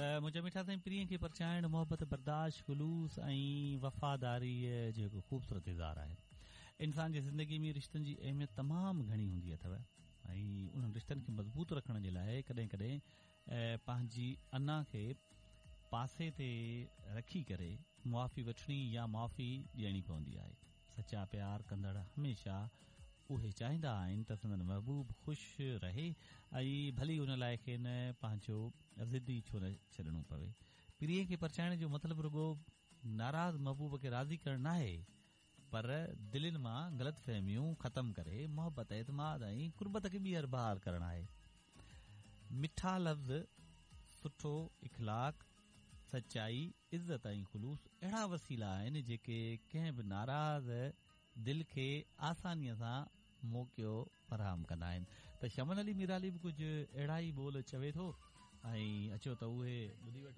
ته منهنجا مٺا سائين پرينء کي پرچائڻ محبت، برداشت، خلوص ۽ وفاداريء جو هڪ خوبصورت اظهار آهي. انسان جي زندگي ۾ رشتن جي اهميت تمام گهڻي هوندي اٿو ۽ انهن رشتن کي مضبوط رکڻ جي لاء ڪڏهن ڪڏهن پنهنجي انا کي پاسي تي رکي ڪري معافي وٺڻي يا معافي ڏيڻي پوندي آهي. سچا پيار ڪندڙ هميشه اهي چاهيندا آهن ته سندن محبوب خوش رهي ۽ ڀلي ان لاء کين پنهنجو ضد ئي ڇو نه ڇڏڻو پوي. پرينء کي پرچائڻ جو مطلب رڳو ناراض محبوب کي راضي ڪرڻ ناهي پر دلين مان غلط فهميون ختم ڪري محبت، اعتماد ۽ قربت کي ٻيهر بحال ڪرڻ آهي. مٺا لفظ، سٺو اخلاق، سچائي، عزت ۽ خلوص اهڙا وسيلا آهن جيڪي ڪنهن به ناراض دل کي آسانيء سان موقعو فراهم ڪندا آهن ته شمن علي ميرالي به ڪجهه اهڙا ئي ٻول چوي ٿو ۽ اچو ته اهي ٻڌي وٺون.